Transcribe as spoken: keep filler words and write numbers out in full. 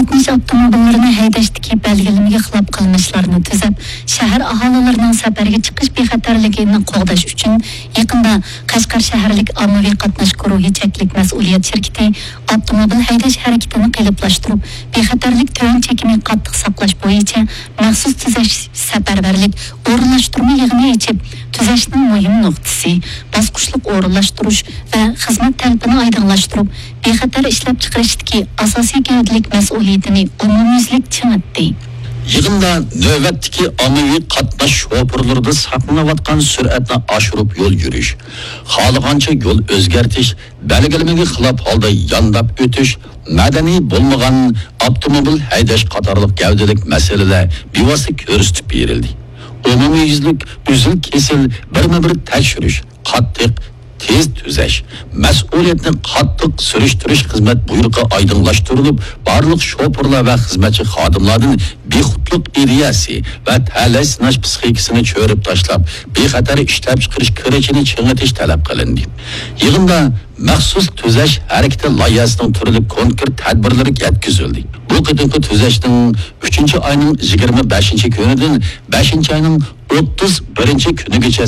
قاتناش ئاپتوموبىللىرىنى ھەيدەشتىكى بەلگىلىمىگە خىلاپ قىلمىشلارنى تۈزەپ، شەھەر ئاھالىلىرىنىڭ سەپەرگە چىقىش بىخەتەرلىكىنى قوغداش ئۈچۈن، يېقىندا قەشقەر شەھەرلىك ئاممىۋى قاتناش گۇرۇھى چەكلىك مەسئۇلىيەت شىركىتى ئاپتوموبىل ھەيدەش ھەرىكىتىنى قېلىپلاشتۇرۇپ، بىخەتەرلىك تۆۋەن چېكىنى قاتتىق ساقلاش بويىچە مەخسۇس تۈزەش سەپەرۋەرلىك ئورۇنلاشتۇرما يىغىنى ئېچىپ، تۈزەشنىڭ مۇھىم نۇقتىسى، باسقۇچلۇق ئورۇنلاشتۇرۇش ۋە خىزمەت تەلىپىنى ئايدىڭلاشتۇرۇپ، بىخەتەر ئىشلەپچىقىرىشتىكى ئاساسىي گەۋدىلىك مەسئۇلىيىتىنى ئومۇميۈزلۈك چىڭىتتى. يىغىندا نۆۋەتتىكى ئاممىۋى قاتناش شوپۇرلىرىدا ساقلىنىۋاتقان سۈرئەتنى ئاشۇرۇپ يول يۈرۈش، خالىغانچە يول ئۆزگەرتىش، بەلگىلىمىگە خىلاپ ھالدا يانداپ ئۆتۈش، مەدەنىي بولمىغان ئاپتوموبىل ھەيدەش قاتارلىق گەۋدىلىك مەسىلىلەر بىۋاسىتە كۆرسىتىپ بېرىلدى. ئومۇميۈزلۈك ئۈزۈل-كېسىل بىرمۇبىر تەكشۈرۈش، قاتتىق، تېز تۈزەش، مەسئۇلىيەتنى قاتتىق سۈرۈشتۈرۈش خىزمەت بۇيرۇقى ئايدىڭلاشتۇرۇلۇپ، بارلىق شوپۇرلار ۋە خىزمەتچى خادىملاردىن بىخۇدلۇق ئىدىيەسى ۋە تەلەي سىناش پىسخىكىسىنى چۆرۈپ تاشلاپ، بىخەتەر ئىشلەپچىقىرىش كۈرىچىنى چىڭىتىش تەلەپ قىلىندى. يىغىندا مەخسۇس تۈزەش ھەرىكىتى لايىھەسىنىڭ تۈرلۈك كونكرېت تەدبىرلىرى يەتكۈزۈلدى. بۇ قېتىمقى تۈزەشنىڭ ئۈچىنچى ئاينىڭ يىگىرمە بەشىنچى كۈنىدىن بەشىنچى ئاينىڭ ئوتتۇز بىرىنچى كۈنىگىچە